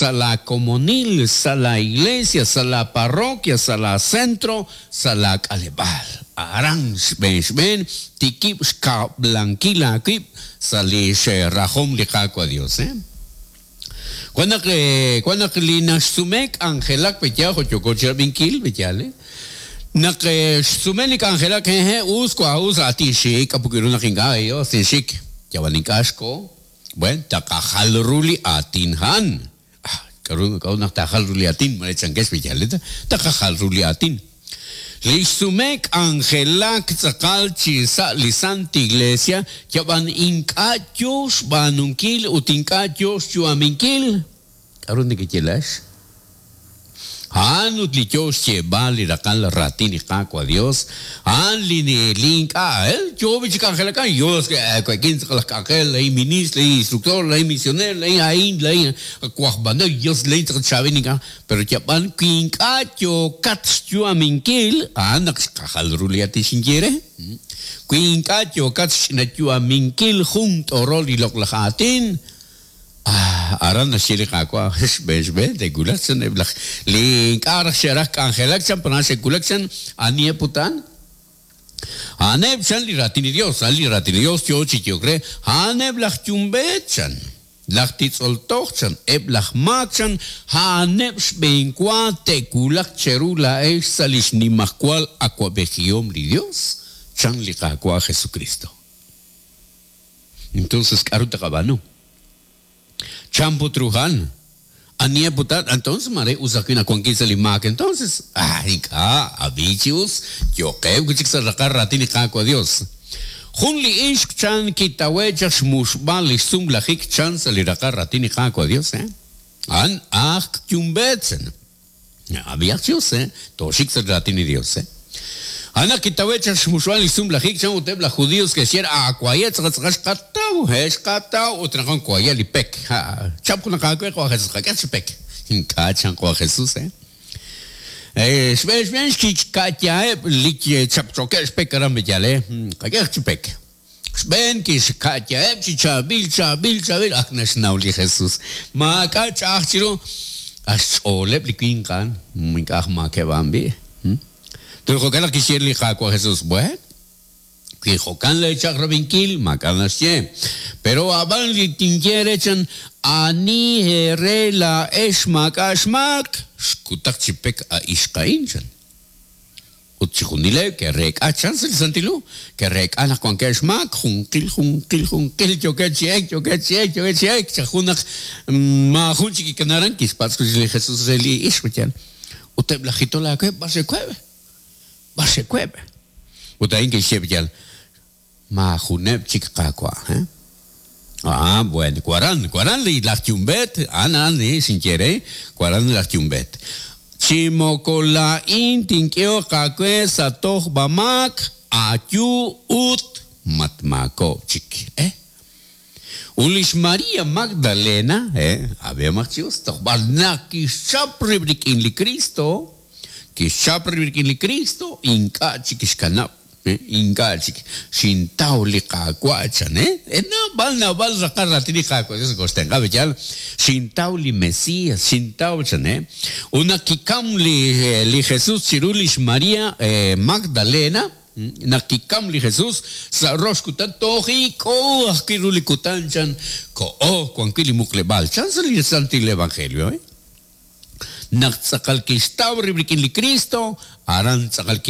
sa' laa komonil, sa' laa iglesia, sa' laa parroquia, sa' laa centro, sa' laa k'aleb'aal. Aran xb'een xb'een tikib' xkab'lankil aawib' sa' lix rajom li Qaawa' Dios. Wan naq, wan naq li naxsume k'anjelak pe'yaal jo' yooko chirab'inkil, pe'yaal, naq xsume li k'anjelak, hehe', us wa, us, a tinxik, k'a' put ru naq ink'a', Dios, tinxik, yab'an ink'a' xko, buen, taqajal ru li aatin a'an. Ah, k'a'ru, k'a'ut naq taajal ru li aatin, mare chankex pe'yaal, taqajal ru li aatin. Li xsume k'anjelak tz'aqal chi sa' li Sant Iglesia yab'an ink'a' yoo xb'aanunkil ut ink'a' yoo xyu'aminkil. K'a'ru nekeye laa'ex? A'an ut li yoo xyeeb'al li raqal raatin li Qaawa' Dios, a'an li li ink'a' yoo b'i chi k'anjelak a'an, yoo we'kin tz'aqal aj k'anjel, laa'in ministro, laa'in instructor, laa'in misionero, laa'in a'in, laa'in waj b'anol, Dios laa'in tz'aqal chaab'il ink'a'. Pero yab'an wi ink'a' yookat xyu'aminkil, a'an naq xqajal ru li aatin xinye re. Wi ink'a' yookat xch'inayu'aminkil jun t'orol li loq'laj aatin, ah, aran naxye li Qaawa', xb'een xb'een te'wulaq chan eb' laj li ink'a' raj xe'raj k'anjelak chan, pero xe'wulak chan, aniheb' utan? A'aneb' chan li raatin li Dios, a'an li raatin li Dios yoo chi yehok re, a'aneb' laj yumb'eet chan. Laj titz'ol toj chan, eb' laj maak chan, a'aneb' xb'eenwa te'wulaq cheru laa'ex sa' li xnimajwal awa'b'ejihom li Dios, chan li Qaawa' Jesukristo. Entonces, k'a'ru taqab'aanu? Chan put ru a'an? Aniheb' put a'an? Entonces, maare us ajwi' naq wankin sa' li maak entonces. Ah, ink'a', ab'i chi us, yo'qeb' wi' chik sa' raqal raatin li Qaawa' Dios. Jun li ixq chan kitawe' chaq xmuxb'al lix sumlajik chan sa' li raqal raatin li Qaawa' Dios, eh? A'an aj yumb'eet, chan. Ab'ihaq chi us, eh? Tooxik sa' li raatin li Dios, eh? A'an naq kitawe' chaq xmuxb'al lix sumlajik chan ut eb' laj Judios ke'xye re, Aawaye' tz'aqal tz'aqal xqataw, he, xqataw, ut naq waye' li pek. Ha, chap junaq aawe, qawa' Jesus, qak'e chi pek. Ink'a' chan qawa' Jesus, eh? Xb'een xb'een xkika'yaheb' li chapchokeb' xpek aran Beyalé, qak'ehaq chi pek. Xb'een kixka'yaheb' chi chaab'il, chaab'il, chaab'il, ak naxnaw li Jesus. Maak'a' ch'a'aj chiru, a xch'ooleb' li winq a'an, ink'a' aj maakeb' a'an b'i'. Toj jo'kan naq kixye li Qaawa' Jesus, Buen, wi jo'kan lee chaq'rab'inkil, maak'a' naxye. Pero a'b'an li tinye eere chan, ani eere laa'ex maak'a' xmaak, xkutaq chi pek a ixq a'in, chan. Ut chixjunileb' ke'reek'a chan sa' li Santil Hu, ke'reek'a naq wankeb' xmaak, junqil, junqil, junqil, yookeb' chi elk, yookeb' chi elk, yookeb' chi elk, chaq jun naq maajun chik kikana aran, kixpatz' wi' chik li Jesus re li ixq, yaal. Ut eb' laj jitol aawe b'ar xe'web'? B'ar xe'web'? Ut a'in kixye yal, Maajuneb' chik Qaawa'. He? Ah, bueno, waran, waran li laj yumb'eet, a'an a'an li xinye re, waran laj yumb'eet. Chi moko laa'in tink'ehoq aawe sa' tojb'a-maak, ayu ut matmaakob'k chik. Eh? Ut li xMaria Magdalena, he, ab'ihomaq chi us, toj b'ar naq kixchap rib' rik'in li Kristo, kixchap rib' rik'in li Kristo, ink'a' chik kixkanab', he, ink'a' chik. Xintaw li Qaawa', chan, he. He, naab'al, naab'al raqal raatin li Qaawa' Dios nokoxtenq'a, pe'yaal? Xintaw li Mesias, xintaw, chan, he. Ut naq kikam li, li Jesus chiru li xMaria Magdalena, Naq kikam li Jesus sa' rox kutan, toj ik'o ajwi' ru li kutan chan koho wan wi' li muqleb'aal chan sa' li Santil Evangelio. Naq tz'aqal kixtaw rib' rik'in li Kristo, aran tz'aqal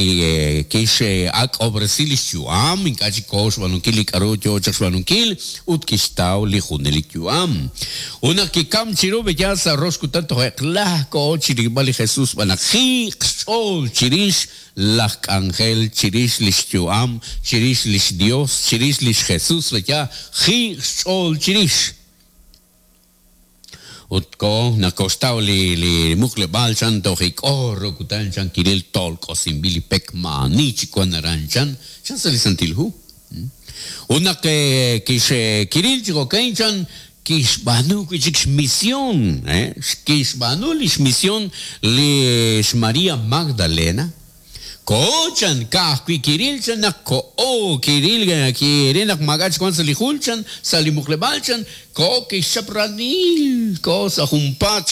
kix'ak'ob'resi lix yu'am, ink'a' chik koho xb'aanunkil li k'a'ru yoo chaq xb'aanunkil, ut kixtaw li junelik yu'am. Ut naq kikam chiru b'eyaal sa' rox kutan toj eq'la koho chirilb'al li Jesus xb'aan naq jiiq xch'ool chirix Laj k'anjel chirix lix yu'am, chirix lix Dios, chirix lix Jesus, reya jiiq xch'ool chirix. Ut ko naq koxtaw li li muqleb'aal chan toj ik'o ru kutan chan kiril tolk'osinb'il li pek maa'ani chik wan aran chan, chan sa' li Santil Hu. Ut naq kix kiril chi jo'kan chan kixb'aanu wi' chik xmision, kixb'aanu li xmision li xMaria Magdalena. Koho chan, ka'ajwi' kiril chan naq koho kiril kiril naq maak'a' chik wan sa' li jul chan, sa' li muqleb'aal chan, koho kixchap ranil, koho sa' junpaat chan.